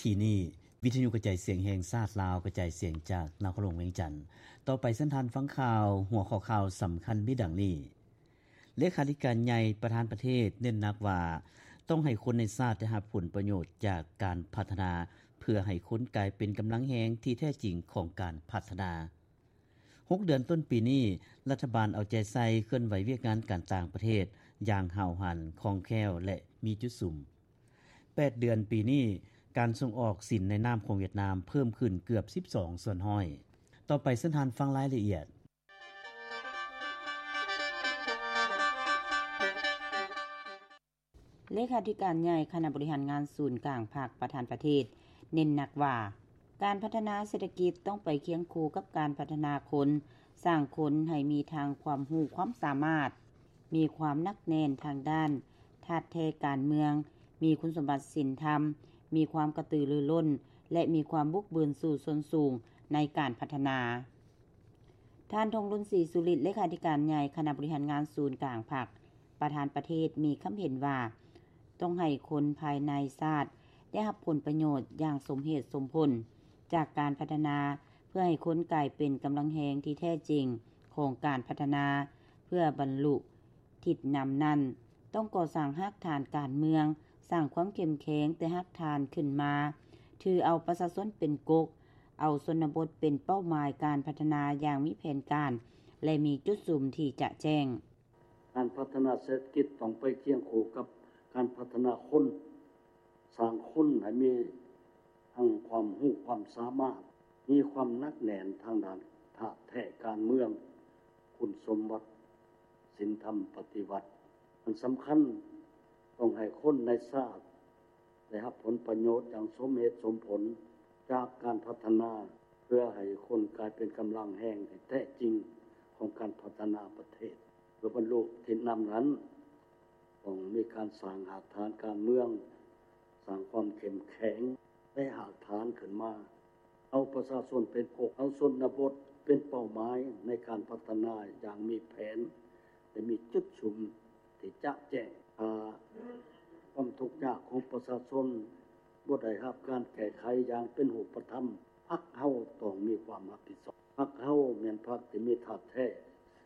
ທີ່ນີ້ ວິທະຍຸກະຈາຍສຽງແຫ່ງຊາດລາວ ກະຈາຍສຽງຈາກນະຄອນຫຼວງວຽງຈັນ. ຕໍ່ໄປເຊີນທ່ານຟັງຂ່າວ, ຫົວຂໍ້ຂ່າວສຳຄັນມີດັ່ງນີ້: ເລຂາທິການໃຫຍ່ປະທານປະເທດເນັ້ນໜັກວ່າ ຕ້ອງໃຫ້ຄົນໃນຊາດໄດ້ຮັບຜົນປະໂຫຍດຈາກການພັດທະນາ ເພື່ອໃຫ້ຄົນກາຍເປັນກຳລັງແຮງທີ່ແທ້ຈິງຂອງການພັດທະນາ. ຫົກເດືອນຕົ້ນປີນີ້, ລັດຖະບານເອົາໃຈໃສ່ເຄື່ອນໄຫວວຽກງານການຕ່າງປະເທດຢ່າງຫ້າວຫັນ, ຄ່ອງແຄ້ວ ແລະ ມີຈຸດສຸມ. ແປດເດືອນປີນີ້, ການສົ່ງອອກສິນໃນນາມຂອງຫວຽດນາມເພີ່ມຂຶ້ນເກືອບສິບສອງສ່ວນຮ້ອຍ. ຕໍ່ໄປເຊີນທ່ານຟັງລາຍລະອຽດ. ເລຂາທິການໃຫຍ່ຄະນະບໍລິຫານງານສູນກາງພັກປະທານປະເທດ ເນັ້ນໜັກວ່າ ການພັດທະນາເສດຖະກິດຕ້ອງໄປຄຽງຄູ່ກັບການພັດທະນາຄົນ, ສ້າງຄົນໃຫ້ມີທັງຄວາມຮູ້ຄວາມສາມາດ, ມີຄວາມໜັກແໜ້ນທາງດ້ານທາດແທ້ການເມືອງ, ມີຄຸນສົມບັດສິນທຳ, ມີຄວາມກະຕືລືລົ້ນ ແລະ ມີຄວາມບຸກບືນສູ້ຊົນສູງໃນການພັດທະນາ. ທ່ານ ທອງລຸນ ສີສຸລິດ ເລຂາທິການໃຫຍ່ຄະນະບໍລິຫານງານສູນກາງພັກປະທານປະເທດ ມີຄຳເຫັນວ່າ ຕ້ອງໃຫ້ຄົນພາຍໃນຊາດໄດ້ຮັບຜົນປະໂຫຍດຢ່າງສົມເຫດສົມຜົນຈາກການພັດທະນາ ເພື່ອໃຫ້ຄົນກາຍເປັນກຳລັງແຮງທີ່ແທ້ຈິງຂອງການພັດທະນາ. ເພື່ອບັນລຸທິດນຳນັ້ນ, ຕ້ອງກໍ່ສ້າງຮາກຖານການເມືອງ, ສ້າງຄວາມເຂັ້ມແຂງແຕ່ຮາກຖານຂຶ້ນມາ, ຖືເອົາປະຊາຊົນເປັນກົກ, ເອົາຊົນນະບົດເປັນເປົ້າໝາຍການພັດທະນາຢ່າງມີແຜນການ ແລະ ມີຈຸດສຸມທີ່ຈະແຈ້ງ. ການພັດທະນາເສດຖະກິດຕ້ອງໄປຄຽງຄູ່ກັບການພັດທະນາຄົນ, ສ້າງຄົນໃຫ້ມີທັງຄວາມຮູ້ຄວາມສາມາດ, ມີຄວາມໜັກແໜ້ນທາງດ້ານທາດແທ້ການເມືອງ, ຄຸນສົມບັດສິນທຳປະຕິວັດ. ອັນສຳຄັນ, ຕ້ອງໃຫ້ຄົນໃນຊາດ ໄດ້ຮັບຜົນປະໂຫຍດຢ່າງສົມເຫດສົມຜົນຈາກການພັດທະນາ, ເພື່ອໃຫ້ຄົນກາຍເປັນກຳລັງແຮງທີ່ແທ້ຈິງຂອງການພັດທະນາປະເທດ. ເພື່ອບັນລຸທິດນຳນັ້ນ, ຕ້ອງມີການສ້າງຮາກຖານການເມືອງ, ສ້າງຄວາມເຂັ້ມແຂງໃນຮາກຖານຂຶ້ນມາ, ເອົາປະຊາຊົນເປັນກົກ, ເອົາຊົນນະບົດເປັນເປົ້າໝາຍໃນການພັດທະນາຢ່າງມີແຜນ ແລະ ມີຈຸດສຸມທີ່ຈະແຈ້ງ. ຖ້າຄວາມທຸກຍາກຂອງປະຊາຊົນບໍ່ໄດ້ຮັບການແກ້ໄຂຢ່າງເປັນຮູບປະທຳ, ພັກເຮົາຕ້ອງມີຄວາມຮັບຜິດຊອບ. ພັກເຮົາແມ່ນພັກທີ່ມີທາດແທ້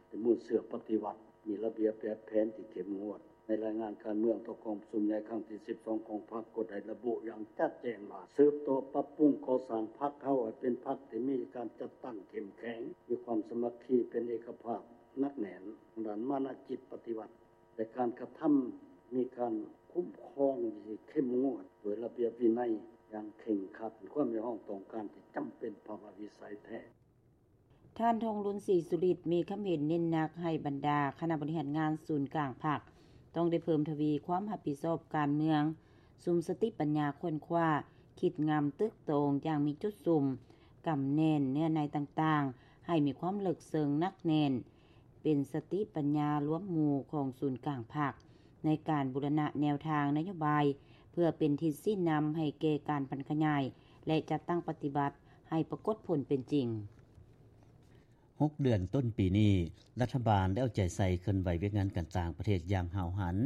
ແລະ ມູນເຊື້ອປະຕິວັດ, ມີລະບຽບແບບແຜນທີ່ເຂັ້ມງວດ. ໃນລາຍງານການເມືອງຕໍ່ກອງປະຊຸມໃຫຍ່ຄັ້ງທີສິບສອງຂອງພັກ ກໍໄດ້ລະບຸຢ່າງຈະແຈ້ງວ່າ ສືບຕໍ່ປັບປຸງກໍ່ສ້າງພັກເຮົາໃຫ້ເປັນພັກທີ່ມີການຈັດຕັ້ງເຂັ້ມແຂງ, ມີຄວາມສາມັກຄີເປັນເອກະພາບໜັກແໜ້ນ, ທາງດ້ານມານະຈິດປະຕິວັດ ແລະ ການກະທຳມີການຄຸ້ມຄອງທີ່ເຂັ້ມງວດດ້ວຍລະບຽບວິໄນຢ່າງເຄັ່ງຄັດ, ເປັນຄວາມຮຽກຮ້ອງຕ້ອງການທີ່ຈຳເປັນພາວະວິໄສແທ້. ທ່ານ ທອງລຸນ ສີສຸລິດ ມີຄຳເຫັນເນັ້ນໜັກໃຫ້ບັນດາຄະນະບໍລິຫານງານສູນກາງພັກ ຕ້ອງໄດ້ເພີ່ມທະວີຄວາມຮັບຜິດຊອບການເມືອງ, ສຸມສະຕິປັນຍາຄົ້ນຄວ້າ, ຄິດງຳຕຶກຕອງຢ່າງມີຈຸດສຸມ, ກຳແໜ້ນເນື້ອໃນຕ່າງໆ ໃຫ້ມີຄວາມເລິກເຊິ່ງໜັກແໜ້ນ, ເປັນສະຕິປັນຍາລວມໝູ່ຂອງສູນກາງພັກ ໃນການບູລະນະແນວທາງນະໂຍບາຍ ເພື່ອເປັນທິດຊີ້ນຳໃຫ້ແກ່ການຜັນຂະຫຍາຍ ແລະ ຈັດຕັ້ງປະຕິບັດໃຫ້ປາກົດຜົນເປັນຈິງ. ຫົກເດືອນຕົ້ນປີນີ້, ລັດຖະບານໄດ້ເອົາໃຈໃສ່ເຄື່ອນໄຫວວຽກງານການຕ່າງປະເທດຢ່າງຫ້າວຫັນ,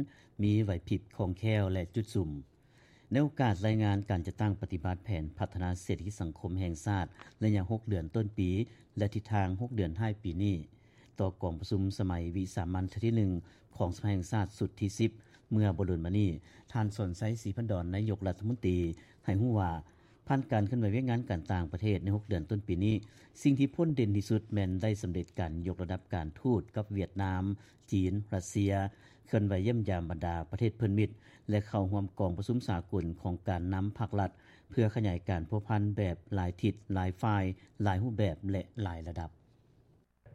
ມີໄຫວພິບຄ່ອງແຄ້ວ ແລະ ຈຸດສຸມ. ໃນໂອກາດລາຍງານການຈັດຕັ້ງປະຕິບັດແຜນພັດທະນາເສດຖະກິດສັງຄົມແຫ່ງຊາດ ໄລຍະຫົກເດືອນຕົ້ນປີ ແລະ ທິດທາງຫົກເດືອນທ້າຍປີນີ້, ຕໍ່ກອງປະຊຸມສະໄໝວິສາມັນເທື່ອທີໜຶ່ງຂອງສະພາແຫ່ງຊາດຊຸດທີສິບ ເມື່ອບໍ່ດົນມານີ້, ທ່ານ ສອນໄຊ ສີພັນດອນ ນາຍົກລັດຖະມົນຕີ ໃຫ້ຮູ້ວ່າ ຜ່ານການເຄື່ອນໄຫວວຽກງານການຕ່າງປະເທດໃນຫົກເດືອນຕົ້ນປີນີ້, ສິ່ງທີ່ພົ້ນເດັ່ນທີ່ສຸດແມ່ນໄດ້ສຳເລັດການຍົກລະດັບການທູດກັບຫວຽດນາມ, ຈີນ, ຣັດເຊຍ, ເຄື່ອນໄຫວຢ້ຽມຢາມບັນດາປະເທດເພື່ອນມິດ ແລະ ເຂົ້າຮ່ວມກອງປະຊຸມສາກົນຂອງການນຳພັກລັດ ເພື່ອຂະຫຍາຍການພົວພັນແບບຫຼາຍທິດ, ຫຼາຍຝ່າຍ, ຫຼາຍຮູບແບບ ແລະ ຫຼາຍລະດັບ.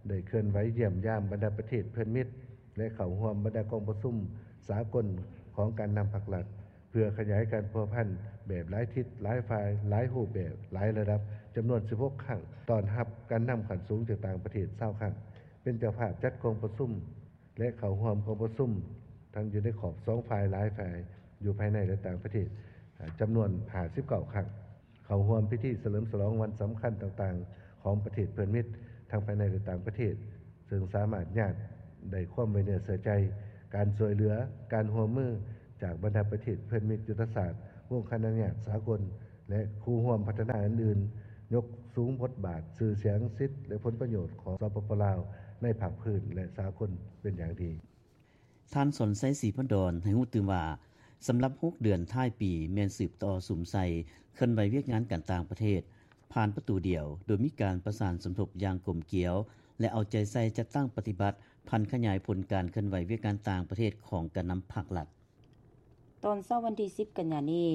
ໄດ້ເຄື່ອນໄຫວຢ້ຽມຢາມບັນດາປະເທດເພື່ອນມິດ ແລະ ເຂົ້າຮ່ວມບັນດາກອງປະຊຸມສາກົນຂອງການນຳພັກລັດ ເພື່ອຂະຫຍາຍການພົວພັນແບບຫຼາຍທິດ, ຫຼາຍຝ່າຍ, ຫຼາຍຮູບແບບ, ຫຼາຍລະດັບ ຈຳນວນສິບຫົກຄັ້ງ, ຕ້ອນຮັບການນຳຂັ້ນສູງຈາກຕ່າງປະເທດຊາວຄັ້ງ, ເປັນເຈົ້າພາບຈັດກອງປະຊຸມ ແລະ ເຂົ້າຮ່ວມກອງປະຊຸມ ທັງຢູ່ໃນຂອບສອງຝ່າຍ, ຫຼາຍຝ່າຍ ຢູ່ພາຍໃນ ແລະ ຕ່າງປະເທດ ຈຳນວນຫ້າສິບເກົ້າຄັ້ງ. ເຂົ້າຮ່ວມພິທີສະເຫຼີມສະຫຼອງວັນສຳຄັນຕ່າງໆຂອງປະເທດເພື່ອນມິດ ທັງພາຍໃນ ແລະ ຕ່າງປະເທດ, ເຊິ່ງສາມາດຍາດໄດ້ຄວາມໄວ້ເນື້ອເຊື່ອໃຈ, ການຊ່ວຍເຫຼືອ, ການຮ່ວມມືຈາກບັນດາປະເທດເພື່ອນມິດຍຸດທະສາດ, ວົງຄະນະຍາດສາກົນ, ແລະ ຄູ່ຮ່ວມພັດທະນາອື່ນໆ ຍົກສູງບົດບາດ, ຊື່ສຽງ, ສິດ ແລະ ຜົນປະໂຫຍດຂອງ ສປປ ລາວ ໃນພາກພື້ນ ແລະ ສາກົນເປັນຢ່າງດີ. ທ່ານ ສອນໄຊ ສີພັນດອນ ໃຫ້ຮູ້ຕື່ມວ່າ ສຳລັບຫົກເດືອນທ້າຍປີ ແມ່ນສືບຕໍ່ສຸມໃສ່ເຄື່ອນໄຫວວຽກງານການຕ່າງປະເທດ ຜ່ານປະຕູດຽວ ໂດຍມີການປະສານສົມທົບຢ່າງກົມກຽວ ແລະ ເອົາໃຈໃສ່ຈັດຕັ້ງປະຕິບັດ ຜັນຂະຫຍາຍຜົນການເຄື່ອນໄຫວວຽກງານຕ່າງປະເທດຂອງການນຳພັກລັດ. ຕອນເຊົ້າວັນທີສິບ ກັນຍານີ້,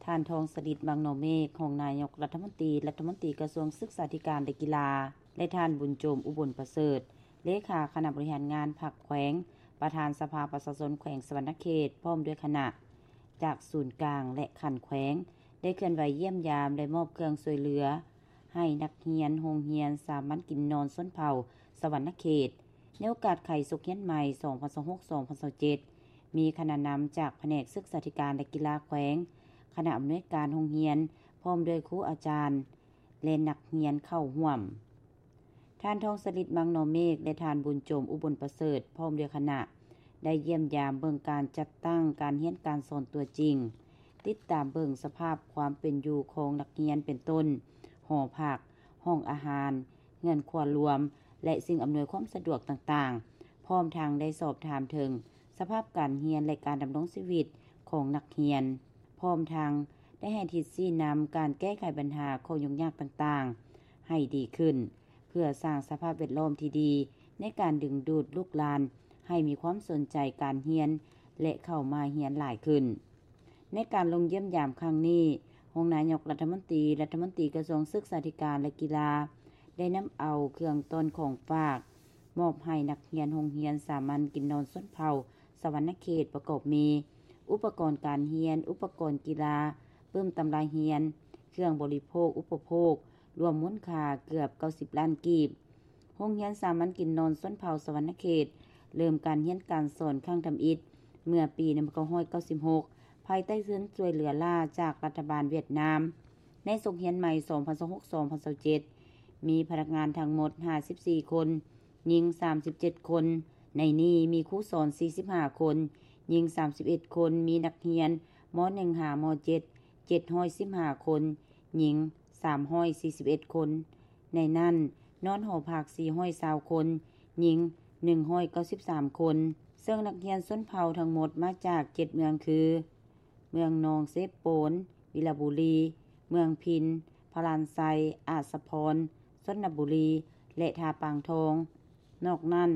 ທ່ານ ທອງສະລິດ ວັງນໍເມກ ຮອງນາຍົກລັດຖະມົນຕີ, ລັດຖະມົນຕີກະຊວງສຶກສາທິການ ແລະ ກິລາ ແລະ ທ່ານ ບຸນໂຈມ ອຸບົນປະເສີດ ເລຂາຄະນະບໍລິຫານງານພັກແຂວງ, ປະທານສະພາປະຊາຊົນແຂວງສະຫວັນນະເຂດ ພ້ອມດ້ວຍຄະນະ ຈາກສູນກາງ ແລະ ຂັ້ນແຂວງ ໄດ້ເຄື່ອນໄຫວຢ້ຽມຢາມ ແລະ ມອບເຄື່ອງຊ່ວຍເຫຼືອ ໃຫ້ນັກຮຽນໂຮງຮຽນສາມັນກິນນອນຊົນເຜົ່າສະຫວັນນະເຂດ ໃນໂອກາດໄຂສົກຮຽນໃໝ່ ສອງພັນຊາວຫົກ ສອງພັນຊາວເຈັດ ມີຄະນະນຳຈາກພະແນກສຶກສາທິການ ແລະ ກິລາແຂວງ, ຄະນະອຳນວຍການໂຮງຮຽນ ພ້ອມດ້ວຍຄູອາຈານ ແລະ ນັກຮຽນເຂົ້າຮ່ວມ. ທ່ານ ທອງສະລິດ ວັງນໍເມກ ແລະ ທ່ານ ບຸນໂຈມ ອຸບົນປະເສີດ ພ້ອມດ້ວຍຄະນະ ໄດ້ຢ້ຽມຢາມເບິ່ງການຈັດຕັ້ງການຮຽນການສອນຕົວຈິງ, ຕິດຕາມເບິ່ງສະພາບຄວາມເປັນຢູ່ຂອງນັກຮຽນ ເປັນຕົ້ນ ຫໍພັກ, ຫ້ອງອາຫານ, ເຮືອນຄົວລວມ ແລະ ສິ່ງອຳນວຍຄວາມສະດວກຕ່າງໆ, ພ້ອມທັງໄດ້ສອບຖາມເຖິງສະພາບການຮຽນ ແລະ ການດຳລົງຊີວິດຂອງນັກຮຽນ, ພ້ອມທັງໄດ້ໃຫ້ທິດຊີ້ນຳການແກ້ໄຂບັນຫາຂໍ້ຫຍຸ້ງຍາກຕ່າງໆໃຫ້ດີຂຶ້ນ, ເພື່ອສ້າງສະພາບແວດລ້ອມທີ່ດີໃນການດຶງດູດລູກຫຼານໃຫ້ມີຄວາມສົນໃຈການຮຽນ ແລະ ເຂົ້າມາຮຽນຫຼາຍຂຶ້ນ. ໃນການລົງຢ້ຽມຢາມຄັ້ງນີ້, ຮອງນາຍົກລັດຖະມົນຕີ, ລັດຖະມົນຕີກະຊວງສຶກສາທິການ ແລະ ກິລາ ໄດ້ນຳເອົາເຄື່ອງຕ້ອນຂອງຝາກ ມອບໃຫ້ນັກຮຽນໂຮງຮຽນສາມັນກິນນອນຊົນເຜົ່າສະຫວັນນະເຂດ ປະກອບມີ ອຸປະກອນການຮຽນ, ອຸປະກອນກິລາ, ປຶ້ມຕຳລາຮຽນ, ເຄື່ອງບໍລິໂພກອຸປະໂພກ ລວມມູນຄ່າເກືອບເກົ້າສິບລ້ານກີບ. ໂຮງຮຽນສາມັນກິນນອນຊົນເຜົ່າສະຫວັນນະເຂດ ເລີ່ມການຮຽນການສອນຄັ້ງທຳອິດ ເມື່ອປີໜຶ່ງພັນເກົ້າຮ້ອຍເກົ້າສິບຫົກ ພາຍໃຕ້ທຶນຊ່ວຍເຫຼືອລ້າຈາກລັດຖະບານຫວຽດນາມ. ໃນສົກຮຽນໃໝ່ ສອງພັນຊາວຫົກ ສອງພັນຊາວເຈັດ ມີພະນັກງານທັງໝົດຫ້າສິບສີ່ຄົນ, ຍິງສາມສິບເຈັດຄົນ, ໃນນີ້ມີຄູສອນສີ່ສິບຫ້າຄົນ, ຍິງສາມສິບເອັດຄົນ, ມີນັກຮຽນ ມໍໜຶ່ງ ຫາ ມໍເຈັດ ເຈັດຮ້ອຍສິບຫ້າຄົນ, ຍິງສາມຮ້ອຍສີ່ສິບເອັດຄົນ, ໃນນັ້ນນອນຫໍພັກສີ່ຮ້ອຍຊາວຄົນ, ຍິງໜຶ່ງຮ້ອຍເກົ້າສິບສາມຄົນ, ເຊິ່ງນັກຮຽນຊົນເຜົ່າທັງໝົດມາຈາກເຈັດເມືອງຄື ເມືອງໜອງເຊໂປນ, ວິລະບູລີ, ເມືອງພິນ, ພະລານໄຊ, ອາດສະພອນ, ຊົນນະບູລີ ແລະ ທ່າປາງທອງ. ນອກນັ້ນ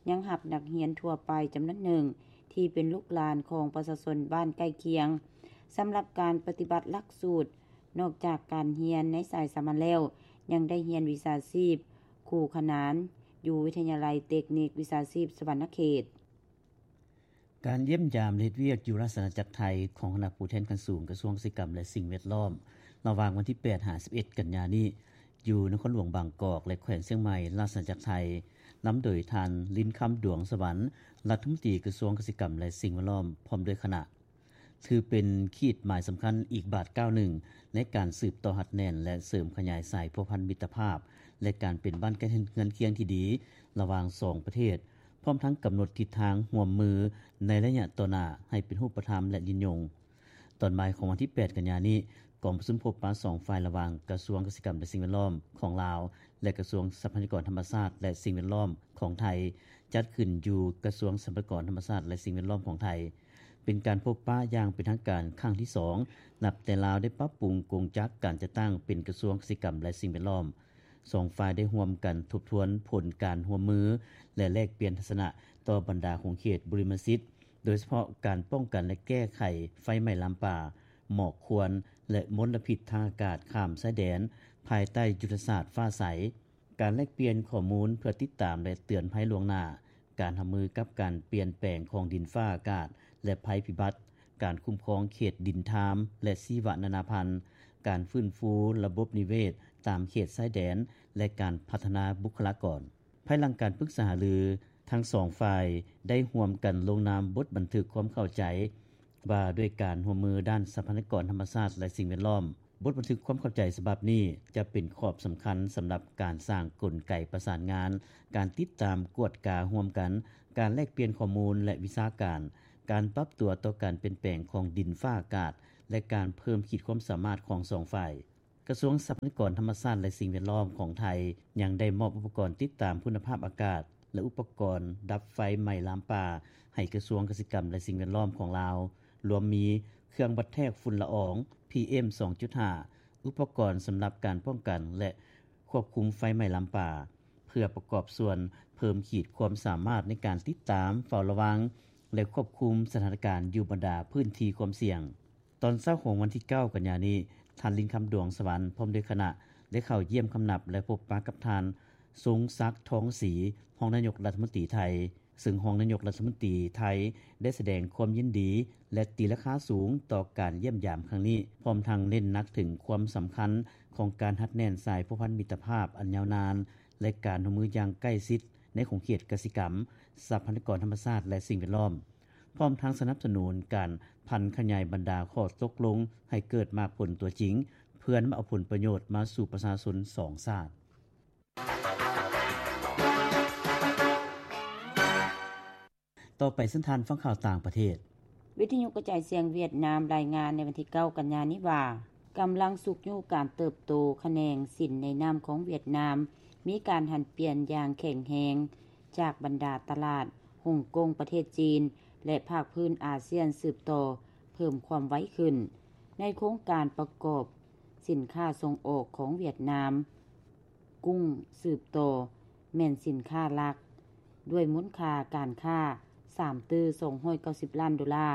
ຍັງຮັບນັກຮຽນທົ່ວໄປຈຳນວນໜຶ່ງ ທີ່ເປັນລູກຫຼານຂອງປະຊາຊົນບ້ານໃກ້ຄຽງ. ສຳລັບການປະຕິບັດຫຼັກສູດ, ນອກຈາກການຮຽນໃນສາຍສາມັນແລ້ວ, ຍັງໄດ້ຮຽນວິຊາຊີບຄູຂະໜານ ຢູ່ວິທະຍາໄລເຕັກນິກວິຊາຊີບສະຫວັນນະເຂດ. ການຢ້ຽມຢາມ ແລະ ເຮັດວຽກຢູ່ລາຊະອານາຈັກໄທ ຂອງຄະນະຜູ້ແທນຂັ້ນສູງກະຊວງກະສິກຳ ແລະ ສິ່ງແວດລ້ອມ ລະຫວ່າງວັນທີແປດ ຫາ ສິບເອັດ ກັນຍານີ້ ຢູ່ນະຄອນຫຼວງບາງກອກ ແລະ ແຂວງຊຽງໃໝ່ ລາຊະອານາຈັກໄທ ນຳໂດຍທ່ານ ລິນຄຳ ດວງສະຫວັນ ລັດຖະມົນຕີກະຊວງກະສິກຳ ແລະ ສິ່ງແວດລ້ອມ ພ້ອມດ້ວຍຄະນະ ຖືເປັນຂີດໝາຍສຳຄັນອີກບາດກ້າວໜຶ່ງ ໃນການສືບຕໍ່ຮັດແໜ້ນ ແລະ ເສີມຂະຫຍາຍສາຍພົວພັນມິດຕະພາບ ແລະ ການເປັນບ້ານໃກ້ເຮືອນຄຽງທີ່ດີ ລະຫວ່າງສອງປະເທດ, ພ້ອມທັງກຳນົດທິດທາງຮ່ວມມືໃນໄລຍະຕໍ່ໜ້າໃຫ້ເປັນຮູບປະທຳ ແລະ ຍືນຍົງ. ຕອນບ່າຍຂອງວັນທີແປດ ກັນຍານີ້, ກອງປະຊຸມພົບປະສອງຝ່າຍລະຫວ່າງກະຊວງກະສິກຳ ແລະ ສິ່ງແວດລ້ອມຂອງລາວ ແລະ ກະຊວງຊັບພະຍາກອນທຳມະຊາດ ແລະ ສິ່ງແວດລ້ອມຂອງໄທ ຈັດຂຶ້ນຢູ່ກະຊວງຊັບພະຍາກອນທຳມະຊາດ ແລະ ສິ່ງແວດລ້ອມຂອງໄທ. ເປັນການພົບປະຢ່າງເປັນທາງການຄັ້ງທີສອງ ນັບແຕ່ລາວໄດ້ປັບປຸງກົງຈັກການຈັດຕັ້ງເປັນກະຊວງກະສິກຳ ແລະ ສິ່ງແວດລ້ອມ. ສອງຝ່າຍໄດ້ຮ່ວມກັນທົບທວນຜົນການຮ່ວມມື ແລະ ແລກປ່ຽນທັດສະນະຕໍ່ບັນດາຂົງເຂດບຸລິມະສິດ, ໂດຍສະເພາະການປ້ອງກັນ ແລະ ແກ້ໄຂໄຟໄໝ້ລາມປ່າ, ໝອກຄວັນ ແລະ ມົນລະພິດທາງອາກາດຂ້າມຊາຍແດນ ພາຍໃຕ້ຍຸດທະສາດຟ້າໃສ. ການແລກປ່ຽນຂໍ້ມູນເພື່ອຕິດຕາມ ແລະ ເຕືອນໄພລ່ວງໜ້າ, ການຮັບມືກັບການປ່ຽນແປງຂອງດິນຟ້າອາກາດ ແລະ ໄພພິບັດ, ການຄຸ້ມຄອງເຂດດິນທາມ ແລະ ຊີວະນານາພັນ, ການຟື້ນຟູລະບົບນິເວດຕາມເຂດຊາຍແດນ ແລະ ການພັດທະນາບຸກຄະລາກອນ. ພາຍຫຼັງການປຶກສາຫາລື, ທັງສອງຝ່າຍໄດ້ຮ່ວມກັນລົງນາມບົດບັນທຶກຄວາມເຂົ້າໃຈ ວ່າດ້ວຍການຮ່ວມມືດ້ານຊັບພະຍາກອນທຳມະຊາດ ແລະ ສິ່ງແວດລ້ອມ. ບົດບັນທຶກຄວາມເຂົ້າໃຈສະບັບນີ້ຈະເປັນຂອບສຳຄັນສຳລັບການສ້າງກົນໄກປະສານງານ, ການຕິດຕາມກວດກາຮ່ວມກັນ, ການແລກປ່ຽນຂໍ້ມູນ ແລະ ວິຊາການ, ການປັບຕົວຕໍ່ການປ່ຽນແປງຂອງດິນຟ້າອາກາດ ແລະ ການເພີ່ມຂີດຄວາມສາມາດຂອງສອງຝ່າຍ. ກະຊວງຊັບພະຍາກອນທຳມະຊາດ ແລະ ສິ່ງແວດລ້ອມຂອງໄທ ຍັງໄດ້ມອບອຸປະກອນຕິດຕາມຄຸນນະພາບອາກາດ ແລະ ອຸປະກອນດັບໄຟໄໝ້ລາມປ່າ ໃຫ້ກະຊວງກະສິກຳ ແລະ ສິ່ງແວດລ້ອມຂອງລາວ, ລວມມີເຄື່ອງວັດແທກຝຸ່ນລະອອງ ພີເອັມ ສອງຈຸດຫ້າ, ອຸປະກອນສຳລັບການປ້ອງກັນ ແລະ ຄວບຄຸມໄຟໄໝ້ລາມປ່າ ເພື່ອປະກອບສ່ວນເພີ່ມຂີດຄວາມສາມາດໃນການຕິດຕາມ, ເຝົ້າລະວັງ ແລະ ຄວບຄຸມສະຖານະການຢູ່ບັນດາພື້ນທີ່ຄວາມສ່ຽງ. ຕອນເຊົ້າຂອງວັນທີເກົ້າ ກັນຍານີ້, ທ່ານ ລິນຄຳ ດວງສະຫວັນ ພ້ອມດ້ວຍຄະນະ ໄດ້ເຂົ້າຢ້ຽມຄຳນັບ ແລະ ພົບປະກັບທ່ານ ຊົງສັກ ທອງສີ ຮອງນາຍົກລັດຖະມົນຕີໄທ, ເຊິ່ງຮອງນາຍົກລັດຖະມົນຕີໄທໄດ້ສະແດງຄວາມຍິນດີ ແລະ ຕີລາຄາສູງຕໍ່ການຢ້ຽມຢາມຄັ້ງນີ້, ພ້ອມທັງເນັ້ນໜັກເຖິງຄວາມສຳຄັນຂອງການຮັດແໜ້ນສາຍພົວພັນມິດຕະພາບອັນຍາວນານ ແລະ ການຮ່ວມມືຢ່າງໃກ້ຊິດໃນຂົງເຂດກະສິກຳ, ຊັບພະຍາກອນທຳມະຊາດ ແລະ ສິ່ງແວດລ້ອມ, ພ້ອມທັງສະໜັບສະໜູນການຜັນຂະຫຍາຍບັນດາຂໍ້ຕົກລົງໃຫ້ເກີດໝາກຜົນຕົວຈິງ, ເພື່ອນຳເອົາຜົນປະໂຫຍດມາສູ່ປະຊາຊົນສອງຊາດ. ຕໍ່ໄປເຊີນທ່ານຟັງຂ່າວຕ່າງປະເທດ. ວິທະຍຸກະຈາຍສຽງຫວຽດນາມລາຍງານໃນວັນທີເກົ້າ ກັນຍານີ້ວ່າ, ກຳລັງຊຸກຍູ້ການເຕີບໂຕຂະແໜງສິນໃນນ້ຳຂອງຫວຽດນາມ ມີການຫັນປ່ຽນຢ່າງແຂງແຮງ ຈາກບັນດາຕະຫຼາດຮົງກົງປະເທດຈີນ ແລະ ພາກພື້ນອາຊຽນສືບຕໍ່ເພີ່ມຄວາມໄວຂຶ້ນ. ໃນໂຄງການປະກອບສິນຄ້າສົ່ງອອກຂອງຫວຽດນາມ, ກຸ້ງສືບຕໍ່ແມ່ນສິນຄ້າຫຼັກ ດ້ວຍມູນຄ່າການຄ້າສາມຕື້ສອງຮ້ອຍເກົ້າສິບລ້ານໂດລາ,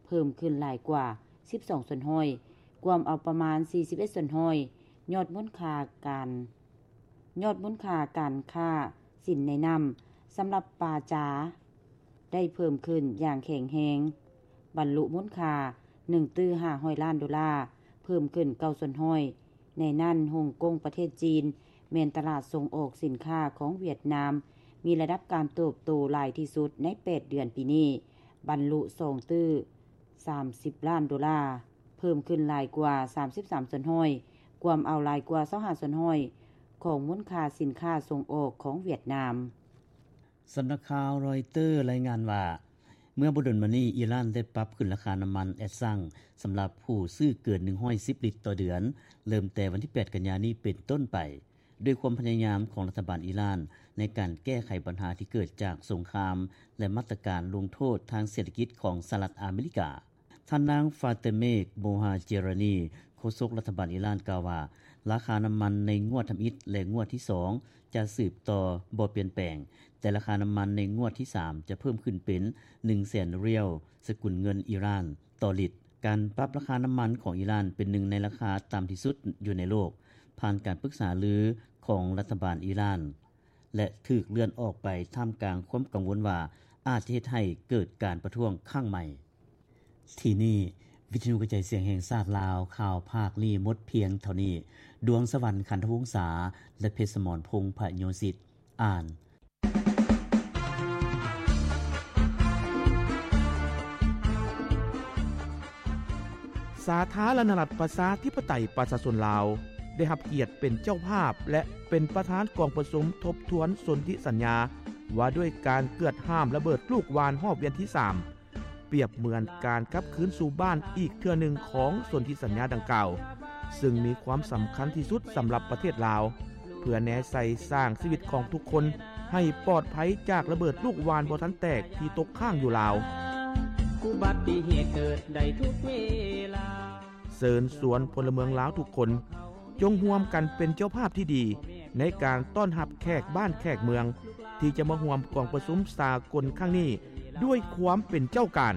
ເພີ່ມຂຶ້ນຫຼາຍກວ່າສິບສອງສ່ວນຮ້ອຍ, ກວມເອົາປະມານສີ່ສິບເອັດສ່ວນຮ້ອຍ ຍອດມູນຄ່າການ ຍອດມູນຄ່າການຄ້າສິນໃນນ້ຳ ສຳລັບປາຈາ ໄດ້ເພີ່ມຂຶ້ນຢ່າງແຂງແຮງ, ບັນລຸມູນຄ່າໜຶ່ງຕື້ຫ້າຮ້ອຍລ້ານໂດລາ, ເພີ່ມຂຶ້ນເກົ້າສ່ວນຮ້ອຍ. ໃນນັ້ນ, ຮົງກົງປະເທດຈີນ ແມ່ນຕະຫຼາດສົ່ງອອກສິນຄ້າຂອງຫວຽດນາມ ມີລະດັບການເຕີບໂຕຫຼາຍທີ່ສຸດໃນແປດເດືອນປີນີ້, ບັນລຸສອງຕື້ສາມສິບລ້ານໂດລາ, ເພີ່ມຂຶ້ນຫຼາຍກວ່າສາມສິບສາມສ່ວນຮ້ອຍ, ກວມເອົາຫຼາຍກວ່າຊາວຫ້າສ່ວນຮ້ອຍຂອງມູນຄ່າສິນຄ້າສົ່ງອອກຂອງຫວຽດນາມ. ສຳນັກຂ່າວຣອຍເຕີລາຍງານວ່າ, ເມື່ອບໍ່ດົນມານີ້ ອີຣານໄດ້ປັບຂຶ້ນລາຄານ້ຳມັນແອັດຊັງ ສຳລັບຜູ້ຊື້ເກີນໜຶ່ງຮ້ອຍສິບລິດຕໍ່ເດືອນ, ເລີ່ມແຕ່ວັນທີແປດ ກັນຍານີ້ເປັນຕົ້ນໄປ, ດ້ວຍຄວາມພະຍາຍາມຂອງລັດຖະບານອີຣານໃນການແກ້ໄຂບັນຫາທີ່ເກີດຈາກສົງຄາມ ແລະ ມາດຕະການລົງໂທດທາງເສດຖະກິດຂອງສະຫະລັດອາເມລິກາ. ທ່ານນາງ ຟາເຕເມກ ໂມຮາເຈຣານີ ໂຄສົກລັດຖະບານອີຣານ ກ່າວວ່າ ລາຄານ້ຳມັນໃນງວດທຳອິດ ແລະ ງວດທີສອງ ຈະສືບຕໍ່ບໍ່ປ່ຽນແປງ, ແຕ່ລາຄານ້ຳມັນໃນງວດທີສາມ ຈະເພີ່ມຂຶ້ນເປັນໜຶ່ງແສນຣຽວ ສະກຸນເງິນອີຣານ ຕໍ່ລິດ. ການປັບລາຄານ້ຳມັນຂອງອີຣານເປັນໜຶ່ງໃນລາຄາຕ່ຳທີ່ສຸດຢູ່ໃນໂລກ, ຜ່ານການປຶກສາລືຂອງລັດຖະບານອີຣານ ແລະ ຖືກເລື່ອນອອກໄປທ່າມກາງຄວາມກັງວົນວ່າອາດຈະເຮັດໃຫ້ເກີດການປະທ້ວງຄັ້ງໃໝ່. ທີ່ນີ້ ວິທະຍຸກະຈາຍສຽງແຫ່ງຊາດລາວ, ຂ່າວພາກນີ້ໝົດພຽງເທົ່ານີ້. ດວງສະຫວັນ ຂັນທະວົງສາ ແລະ ເພັດສະໝອນ ພົງພະໂຍສິດ ອ່ານ. ສາທາລະນະລັດ ປະຊາທິປະໄຕ ປະຊາຊົນລາວ ໄດ້ຮັບກຽດເປັນເຈົ້າພາບ ແລະ ເປັນປະທານກອງປະຊຸມທົບທວນສົນທິສັນຍາ ວ່າດ້ວຍການເກືອດຫ້າມລະເບີດລູກຫວ່ານຮອບວຽນທີສາມ ປຽບເໝືອນການກັບຄືນສູ່ບ້ານອີກເທື່ອໜຶ່ງຂອງສົນທິສັນຍາດັ່ງກ່າວ, ເຊິ່ງມີຄວາມສຳຄັນທີ່ສຸດສຳລັບປະເທດລາວ ເພື່ອແນໃສ່ສ້າງຊີວິດຂອງທຸກຄົນໃຫ້ປອດໄພຈາກລະເບີດລູກຫວ່ານບໍ່ທັນແຕກທີ່ຕົກຄ້າງຢູ່ລາວ. ອຸບັດຕິເຫດເກີດໄດ້ທຸກເວລາ. ເຊີນຊວນພົນລະເມືອງລາວທຸກຄົນ ຈົ່ງຮ່ວມກັນເປັນເຈົ້າພາບທີ່ດີໃນການຕ້ອນຮັບແຂກບ້ານແຂກເມືອງ ທີ່ຈະມາຮ່ວມກອງປະຊຸມສາກົນຄັ້ງນີ້ດ້ວຍຄວາມເປັນເຈົ້າການ.